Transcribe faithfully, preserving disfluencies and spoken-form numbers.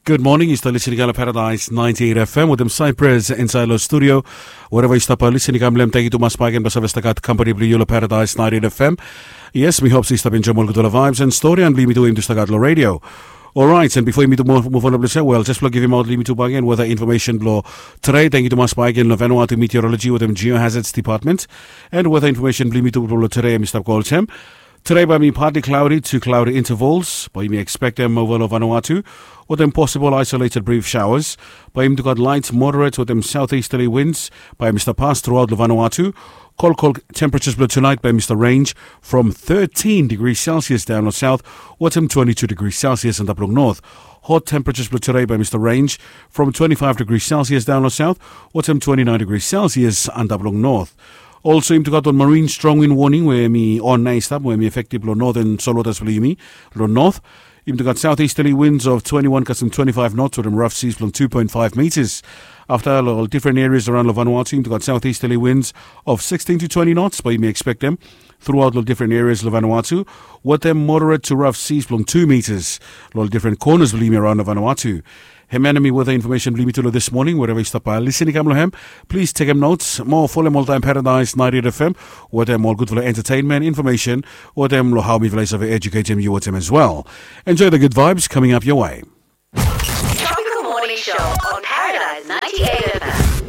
Gud moning, yu stap lisin i kam long Paradise ninety eight F M wetem Cyprus insaed long studio. Wereva yu stap lisin i kam long hem, tangkiu tumas bakegen blong save stap gat kampani blong yu long Paradise ninety eight F M. Yes, mi hop se yu stap enjoem ol gudfala vibes and stori and blong yumi tu we yumi tu stap gat long redio. Orait, and bifo yumi tu muv on long ples ya, wel, jes blong givimaot long yumi tu bakegen weta infomesen blong tede. Tangkiu tumas bakegen long Vanuatu Meteorology wetem Geohazards Department. And weta infomesen blong yumi tu blong tede, mi stap go olsem. Tede bae i mi partly cloudy to cloudy intervals, bae yumi ekspektem ova long Vanuatu wetem possible isolated brief showers. Bae yumi tu gat light, moderate wetem southeasterly winds bae i mi stap pas truaot long Vanuatu. Kolkol temperatures blong tunaet bae i mi stap range from thirteen degrees Celsius daon long south wetem twenty-two degrees Celsius antap long north. Hot temperatures blong tede bae i mi stap range from twenty-five degrees Celsius daon long south wetem twenty-nine degrees Celsius antap long north. Also, yumi tu gat ol marine strong wind warning we mi on nao i stap, we mi efektif long northern solwatas blong yumi. Long north, yumi tu gat southeasterly winds of twenty-one kasem twenty-five knots wetem rough seas blong two point five meters. Afta long ol different areas around long Vanuatu, yumi tu gat southeasterly winds of sixteen to twenty knots bae yumi ekspektem truaot long different areas long Vanuatu wetem moderate to rough seas blong two meters long ol different corners blong yumi around long Vanuatu. Hemia nao i weta infomesen blong yumi tu long this morning. Wereva yu stap lisin i kam long hem, plis tekem notes. Moa folem oltaem Paradise ninety eight F M wetem ol gudfala entertainment infomesen wetem long hao mifala i save eduketem yu wetem as well. Enjoy the good vibes coming up your way. Tropical Morning Show on